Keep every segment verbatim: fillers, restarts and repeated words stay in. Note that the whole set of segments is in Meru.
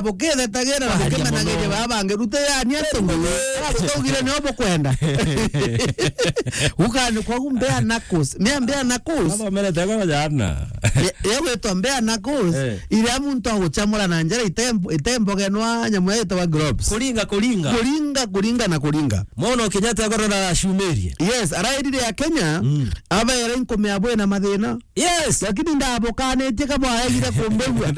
bukithetagira na bukimenagiria baba bangi, rute yani atungu. Butaugire nio bukwenda. Ukani kwa gumbea nakos. Mea mbea nakos. Baba mere tego jana. Ye gwitwa mbea nakos. Eh. Iria muntu aguchamura na njara itembo-, itembogenwa nyamu yetwa gloves. Kuringa, kuringa. Kuringa, kuringa na kuringa. Mwono Kenyatta agoro na ashumerie. Yes, arairire ya Kenya, mm, abaere nkume abwe na mathina. Yes. Lakini ndabukanitie kabwaegire kumbigua.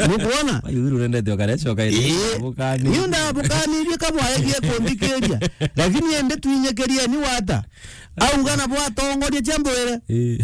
Nukwona? Ayu urendete okare coka iri. Ii. Ndabukanirie. Niu ndabukanirie kabwaegire kunthikiria. Lakini ende twinyikirie ni wata. Auga na bwatongoria cia mbwire. Ii.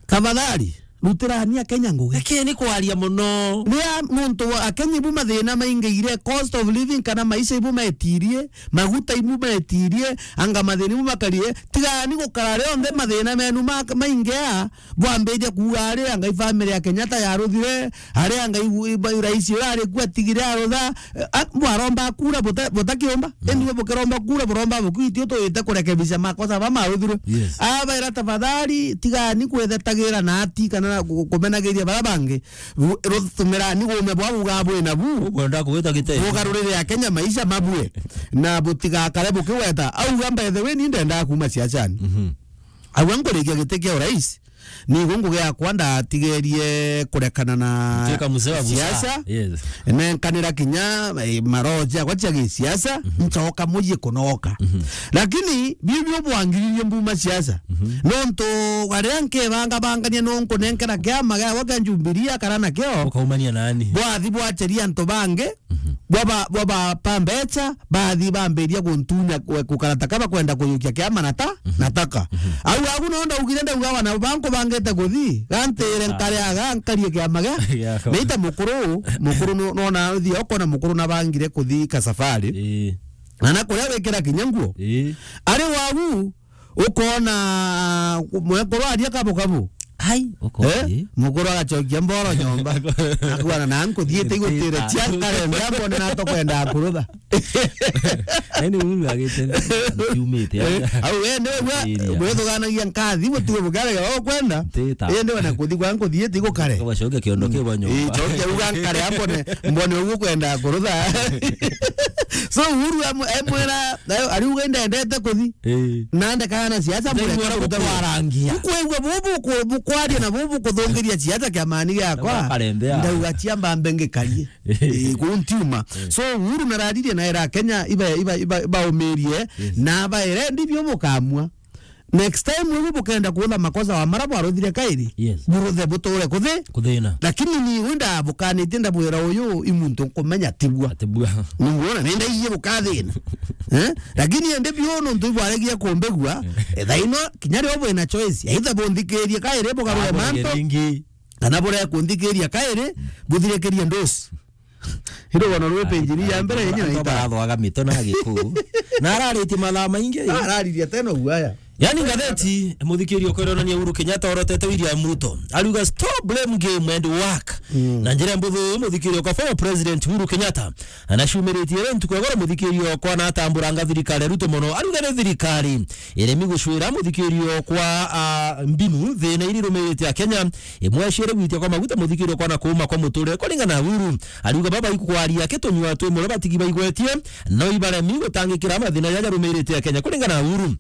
Tafadhali, rutirani Akenya ngugi. Eke ni kwaria muno. Ria nuntu wa Akenya ibu mathina maingiire, cost of living kana maisha ibu metirie, maguta ibu metirie, anga mathina ibu makarie, tigani gukara rionthe mathina menu ma-, maingia, bwambiria kuuga ari anga i family ya Kenyatta yaruthire, ari anga i, i, rais uria ari ku atigire arutha, Eh, a, bwaromba kura buta-, butakiomba. Mm. Indi we bukiromba kura, buromba bukwiti utuite kurekebisha makosa ba maruthirwe. Yes. Abaira, tafadhali, tigani kwithetagira na ati kana na ku-, kumenagiria bara bangi. Bu-, rutumirani gume bwa buga bwina bu. Ukwenda kuwita gite. Bugarurire Akenya maisha mabue. Na butigakare bukiweta. Auga, by the way, ni ndenda kuma siasani. Mhm. Auga, nkurikia giti kia urais. Nigo ngugi yakwa ndatigerie kurekana na Gutwika mzee wa busara. Siasa. Yes. Nenkanira kinya, eh, maroho ciakwa cia gisiasa, mhm, ncoka mucii kunoka. Mhm. Lakini biu biu bwangiririe mbuma siasa. Mhm. Nontu aria nkebangabangania no nkunenkera kiama giakwa kia Jubilee akara nakio. Ukaumania nani? Bwathi bwacheria antu bangi, mhm, bwaba, bwaba pa mbecha, bathi bambiria guntunya kwe-, gukara ta kaba kwenda kuyukia kiama na ta, mhm, na taka. Mhm. Au agu no ndaugire ndauga wana banku bangite kuthi, gantire, ah, nkare aga, nkarie kiama gia. Giakwa. Naita mukuru, mukuru no, no na uthi okona mukuru na bangire kuthi ka safari. Ii. Na na kuria wikira kinya nguo. Ii. Ari wagu, ukona mwekuru aria kabu kabu. Ai, uko, eh? Ii. Mukuru agacokia mboro nyomba. Akuana na nkuthiite igutire cia nkare, mbona na tokwenda kurutha. Nani Uhuru agite? Kiumite. Eh, au we ni we, area, wethuganagia nkathi, gutiwe bukare ga ukwenda. Ntita. Indi we na kuthi kwa nkuthiite igukare. Kwa coke kiondo kiu nyomba. Ii, coke uga nkare, ambone, mbone uguo kwenda kurutha. So Uhuru amu-, emwira, ariuga, "Indendete kuthi." Ii. Nande kana siasa. Ndaigua mureka kuruta kurangia. Ukwigua bubu ku-, bukwaria na bubu kuthungiria siasa kiamani giakwa. Bakarembea. Ndauga cia mbambe ngikarie. Ii, kuu ntiuma. Ii. So Uhuru nararirie na era Kenya iba, iba, iba, baumirie, yes, na baere ndibio bukamua. Next time ubu bukenda kuutha makosa wa mara bwaruthire kairi. Yes. Buruthe buture kuthi. Kuthina. Lakini ni wenda bukanitie ndabwira uyu i muntu nkumenya tibua. Atibua. Ningwona nenda iye bukathina. Eh? Lakini ende bio nontu ibwaregia kumbigua, eh, thaino kinya rio bwina choice. Either bunthikirie kairi bugarure mantu. Ringi. Kana buria kunthikiria kairi, buthirikirie ndusi. Iro bono rwe page ni ya mbere yenye na ita. Barathoaga mito na Gikuu. Na araritie mathaa maingi. Araririe tena uaya. Yani ngatheti, muthikirio kweronania Uhuru Kenyatta orotete William Ruto. Ariuga, "Stop blame game and work." Mm. Na njira mbuthu, muthikirio kwa former President Uhuru Kenyatta. Anacumiritie ri ntuku ya goro muthikirio kwa na atambura nga thirikari ya Ruto mono. Ariuga ni thirikari iremi gucwira muthikirio kwa, ah, mbinu thina iri rumirite Akenya. Imwe ciere gwitia kwa maguta muthikirio kwa na kuuma kwa muturire kuringana na Uhuru. Ariuga baba ikwaria kitunyua twi mure batigi baigwetie, no ibaremi gutangikira mathina jaja rumirite Akenya kuringana na Uhuru.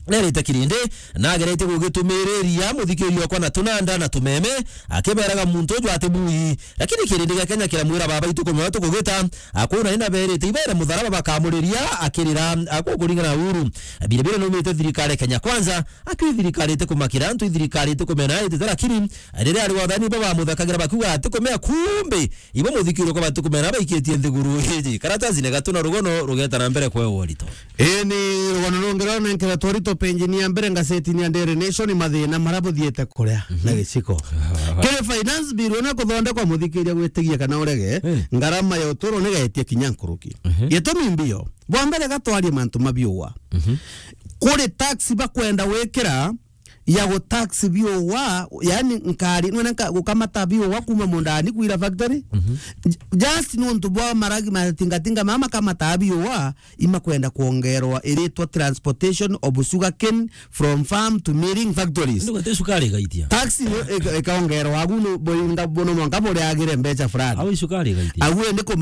Nerite kirindi, nagerete gugitumiriria muthikirio kwa na tunanda na tumeme, akiberaga muntu uju ati bui. Lakini kirindi gia Kenya kiramwira baba itukumenya tukugita, akuna ina berite ibere mutharaba bakamuriria akirira, akukuringana na Uhuru. Bire bire numite thirikari Kenya Kwanza, Aki thirikari iti kumakira antu, i thirikari iti kumena, iti tarakiri. Riria ari wathani baba muthakagira bakiuga ati kumea, kumbe ibo muthikirio kwa bati kumena baikitie nthiguru iji. Karatasi ni gatu na rugono rugeta na mbere kwewa urito. Ii ni rugono rungi rwa nenkera twarito penjini ya mbere ngasetini ya Daily Nation, mathina mara buthiete kuria na giciko. Kiri finance bill na kuthondekwa muthikiria gwitigia kana urege, ngarama ya uturo ni gaetie kinya nkuruki. Gitumi mbio, bwa mbere gatwarie mantu mabiua. Kuri tax bakwenda wikira, ya gutax biuwa, yani nkari, nwene nka-, gukamata biuwa kuma mundani kwira factory. Mhm. J-, just nontu bwa maragi matingatinga mama kamata biuwa, imakwenda kuongerwa iritwa transportation of sugarcane from farm to milling factories. Ndio gate sukari igaitia. Tax yo ika-, ikaongerwa agu no boinga bono mwanka buriagire mbecha fulani. Au sukari igaitia. Agu ni kuma